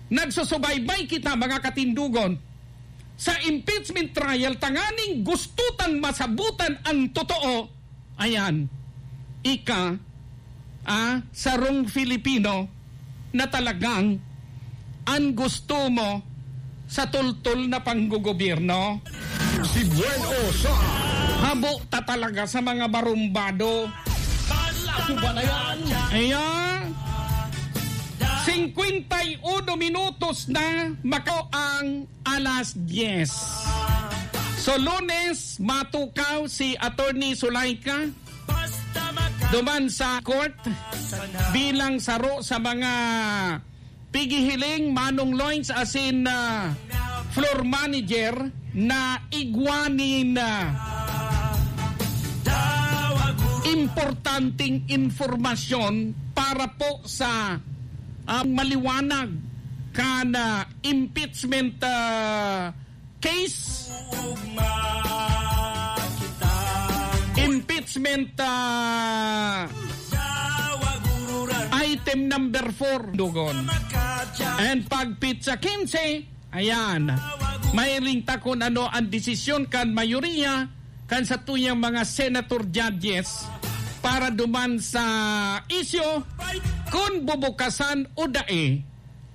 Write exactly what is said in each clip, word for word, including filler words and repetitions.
Nagsusubaybay kita, mga katindugon, sa impeachment trial tanganing gusto tang masabutan ang totoo. Ayan, ika, ah, sarong Filipino na talagang an gusto mo sa tultol na panggogobyerno. Si Buen Osa. Habo ta talaga sa mga barumbado. Ako ba na yan? Ayan. Singkwenta y uno minutos na mako ang alas dyes. So, Lunes, matukaw si Attorney Zulaika duman sa court bilang saro sa mga pighihiling, Manong Loins, asin, ah, floor manager na igwa nin, ah, importanteng impormasyon para po sa, ah, maliwanag kan, ah, impeachment, ah, case. Impeachment, ah, item number four, dugon. And pag petsa kinse, ayan, mahiling ta kun ano ang desisyon kan mayoriya kan satuyang mga senator judges para duman sa isyu kun bubukasan o dai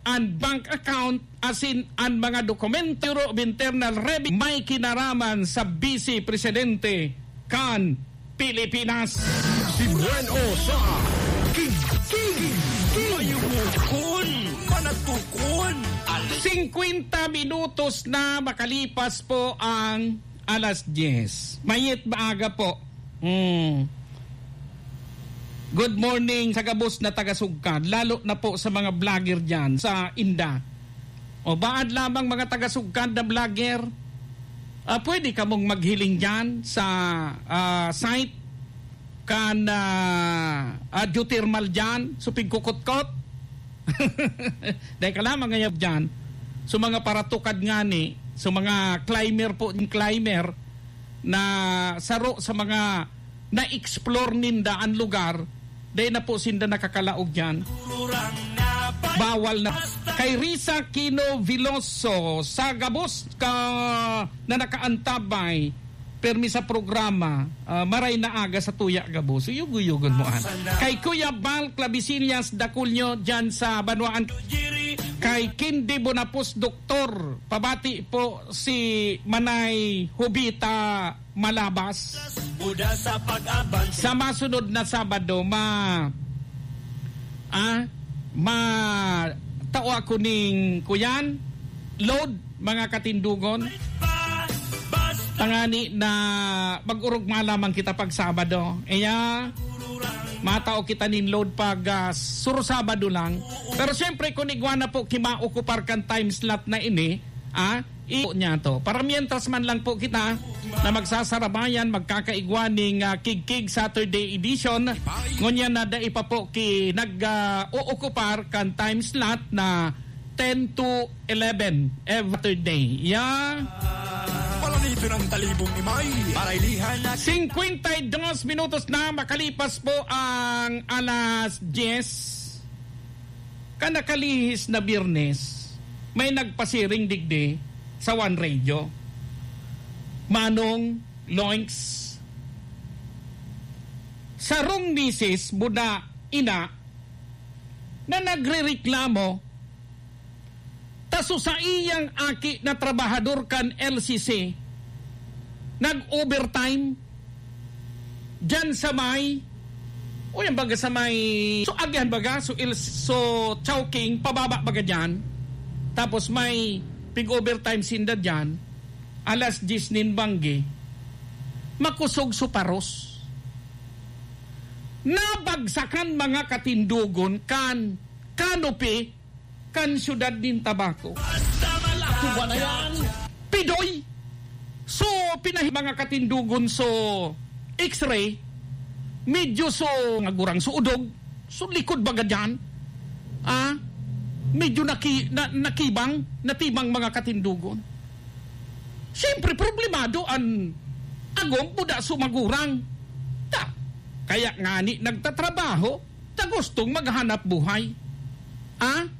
an bank account asin an mga dokumento of internal revenue may kinaraman sa Vice Presidente kan Pilipinas. Si Buen Osa. King, king, king. Mayumukon, manatukon. Singkwenta minutos na makalipas po ang alas dyes. Mayet maaga po. Hmm. Good morning sa gabos na taga-Sugkad, lalo na po sa mga vlogger diyan sa Inda. O, baad lamang mga taga-Sugkad na vlogger, ah, pwede kamong maghiling diyan sa, ah, site kan, ah, ah, geothermal diyan, sa Pigkukutkot. Dai ka lamang ngayab diyan. So, mga paratukad ngani, so, mga climber po, climber na saro sa mga na-explore ninda an lugar, dai na po sinda nakakalaog diyan. Bawal na. Kay Risa Kino Veloso, sa gabos ka na nakaantabay, permi sa programa, ah, maray na aga sa tuya gabos. So, yugo-yugon mo, an. Kay Kuya Bal Clavisillas Daculio, dyan sa Banwaan. Kay Kindi Bonapos, Doktor, pabati po si Manay Hubita Malabas. Sa masunod na Sabado, ma-, ah, ma-, tao ako ning kuyan, load, mga katindugon. Tangani na mag-urugma lamang kita pag Sabado. Iya, matao kita nin load pag, ah, suro Sabado lang. Pero siyempre, kung igwa na po, kimaokupar kan time slot na ini, ah, i-, niya to. Para mientras man lang po kita na magsasarabayan, magkakaigwa ning, ah, Kigkig Saturday edition. Ngunyan na dai pa po ki-, nag, ah, uokupar kan time slot na ten to eleven every Saturday. Yeah. Palanito ng talibong ni May. Para ilihan na singkwenta y dos minutos na makalipas po ang alas dyes. Kan nakalihis na Biyernes, may nagpasiring digdi sa One Radio. Manong Loinks, sarong misis muna ina na nagrereklamo ta so saiyang aki na trabahador kan L C C, nag-overtime diyan sa may, o yan baga sa may, so agihan baga, so, il, so Chowking, pababa baga diyan. Tapos may pig-overtime sinda diyan, alas dyes nin banggi, makusog so paros. Nabagsakan mga katindogon kan canopy kan siyudad nin Tabaco. Ako ba na yan? Pidoy! So, pinahi-, mga katindogon, so, X-ray, medyo so, nga gurang so udog, so likod baga dyan, ah, medyo naki-, na-, nakibang, natibang mga katindogon. Siyempre, problemado an agom buda so magurang. Ta, kaya ngani nagtatrabaho, ta gustong maghanap buhay. Ah?